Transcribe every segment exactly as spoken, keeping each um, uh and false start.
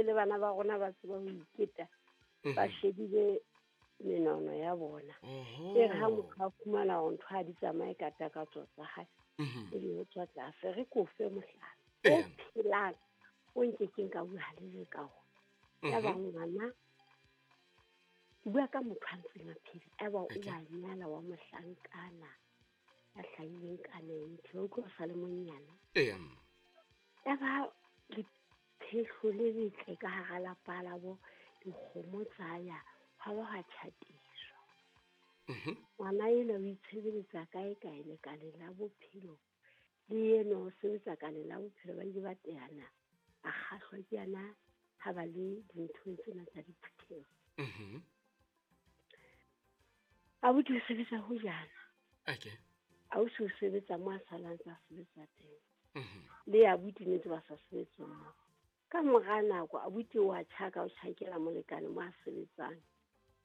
Ebile le bana ba rona ba tseba ho iketa, ba shebile menono ya bona. E re ha motho a fumana hore ntho ha di tsamaye ka takatso tsa hae, ebe ho tswa tlase. Re ko fe mohlala o phelang o nkekeng ka bua le ka ona. Ya ba ngwana, ke bua ka motho a ntseng a phela, ya ba o wa nyala wa mohlankana ya hlahileng ka ninety, wa utlwa o sa le monyane. Ya ba lephehlo le letle ka hara lapa la bo, dikgomo tsa ya, hwa ba hwa tjhatiswa. Ngwana enwa o itshebeletsa kae kae lekaleng la bophelo, le enwa o sebetsa kaleng la bophelo. Ba ile ba teana, a kgahlwa ke yena ha ba le dinthong tsena tsa diphutheho. Abuti o sebetsa ho jana. Okay. Ausi o sebetsa mo a salang tsa sebetsa teng. Le abuti ne ntse ba sa sebetse mo. Ka mora nako abuti wa tjhaka, o tjhakela molekane mo a sebetsang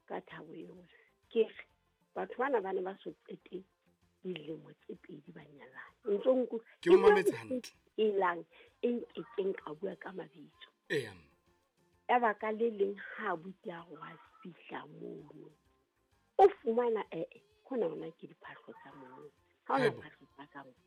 ka thabo yohle. Ke re batho bana ba ne ba so qete dilemo tse pedi ba nyalane. Ntso nku Ke o mametse hantle. E lang e nkekeng ka bua ka mabitso. Eya. Ya ba ka le leng ha abuti a re wa fihla mono, o fumana ee hona hona ke diphahlo tsa mono. Ha hona phahlo tsa ka moo.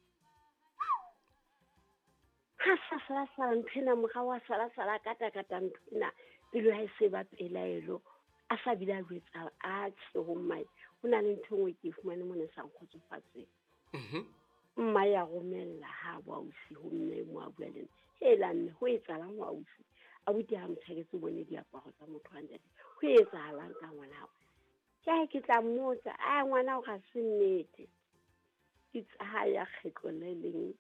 Ha sa sala sala ntho ena, morao wa sala sala kata kata ntho ena, pelo ha e se ba pelaelo, a sa bile a jwetsa a tjhe ho mmae. Ho na le ntho e nngwe ke e fumane mona e sa nkgotsofatseng. Mma ya romella ha bo ausi ho mme mo a bua le nna. Hela mme, ho etsahalang ho ausi? Abuti ha motjhaketse o bone diaparo tsa motho wa ntate. Ho etsahalang ka ngwana hao? Ke ha ke tla mmotsa, a ngwana hao ha se nnete. Ke tsa ha ya kgetlo le leng,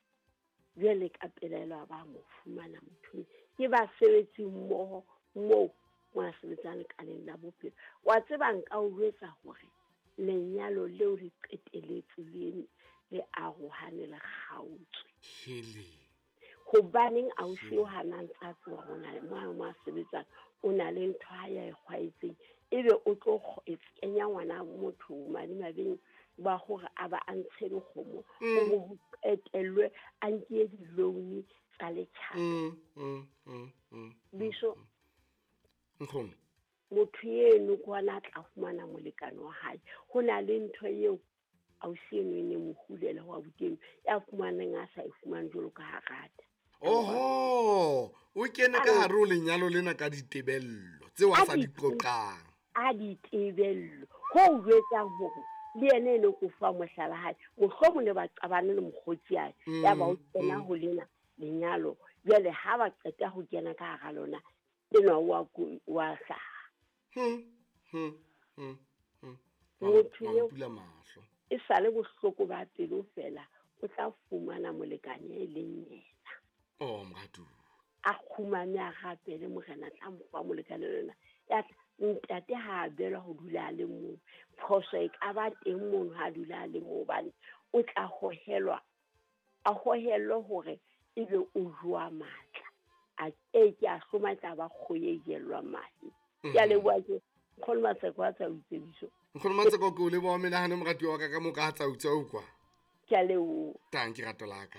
jwale ka pelaelo a ba mo fumana motho. Ke basebetsi mmoho moo mo a sebetsang lekaleng la bophelo. Wa tseba nka o jwetsa hore lenyalo leo le qeteletse le le arohane le kgaotswe. Hele. Hobaneng ausi o hana ntse a tseba hore o na le mo mo a sebetsang, o na le ntho ha ya e kgwaetseng, ebe o tlo kenya ngwana motho madimabeng ba hore a ba a ntshe dikgomo, ho bo ho qetellwe a nke di-loan tsa letjhaba. Biso, Nkgono. Motho eno ke hona a tla fumana molekane wa hae. Ho na le ntho eo ausi eno e ne mo hulela ho abuti eno, ya fumaneng a sa e fumane jwalo ka ha rata. Oho, o kene ka hare ho lenyalo lena ka ditebello tseo a sa di qoqang. A ditebello. Ho jwetsang hore le yena eno ko fa mohlala hae, mohlomong ne ba qabane le mokgotsi ae, ya ba o kena ho lena lenyalo. Jwale ha ba qeta ho kena ka hara lona, enwa wa wa hlaha. Hmm, hmm, hmm, hmm. Motho eo pula mahlo. E sale bohloko ba pelo fela, o tla fumana molekane e leng yena. Oh, moratu. A kgumame a rapele morena tla mo fa molekane lona. Ya tla ntate ha a belwa ho dula a le mong. Phoso e ka ba teng mono ha dula a le mong, hobane o tla hohelwa, a hohellwe hore ebe o jowa matla. A ke ke a hloma tla ba kgoye e jellwa mahe. Ke a leboha ke Nkgono Matseko a tsa itsebiso. Nkgono Matseko ke o leboha menahano moratuwa wa ka ka moka ha tsa utswa o kwa. Ke a leboha. Tanki rato la ka.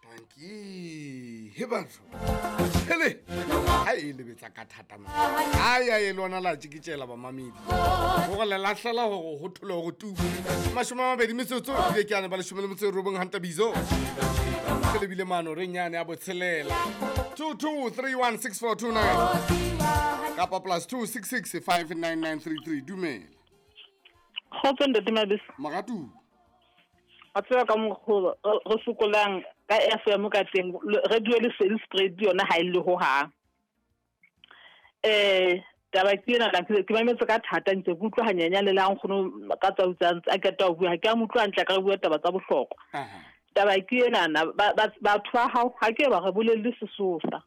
Tanki. He batho. Hele. Ha e lebetsa ka thata ma. Ai ai lona la tjikitjela ba mamedi. Hore le lahlela hore ho thole hore tu. Mashome a mabedi metsotso ebile ke ana ba leshome le metso e robong hanta bizo. Ke lebile mano re nyane ya botshelela. two two three one six four two nine kapa plus two six six five nine nine three three. Dumela. Kgotso ntate Mabese. Moratu. A tseba ka mokgwa re sokolang ka F M ka teng, radio le sales spread yona ha e le ho hang. Eh taba ke ena ka ke mametse ka thata ntse ke utlwa hanyanya le la nkgono ka tsa utsang a qeta ho bua, ha ke a mo utlwa hantle ka bua taba tsa bohlokwa. Taba ke ena na batho ba hao ha ke ba re bolelle sesosa.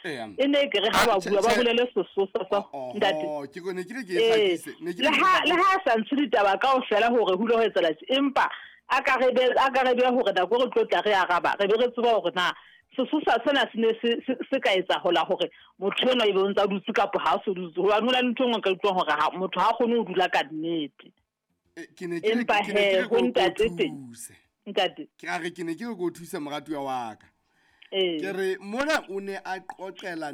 E ne ke re ha ba bua ba bolele sesosa sa ntate. Ke ne ke re ke e hlakise, ne ke le ha le ha sa ntshe ditaba kaofela hore ho ile ho etsahala, empa a ka re be a ka re be hore nako re tlo tla re araba, re be re tseba hore na sesosa sena se ne se se ka etsa hola hore motho enwa ebe o ntsa dutse kapa ha o so dutse, hobane ho na le ntho e nngwe ka utlwang hore ha motho ha kgone ho dula ka nnete. Ke ne ke ke ne ke ho ntate teng. Ntate. Ke a re ke ne ke re go thusa moratuwa wa ka. Eh. Ke re mona o ne a qoqela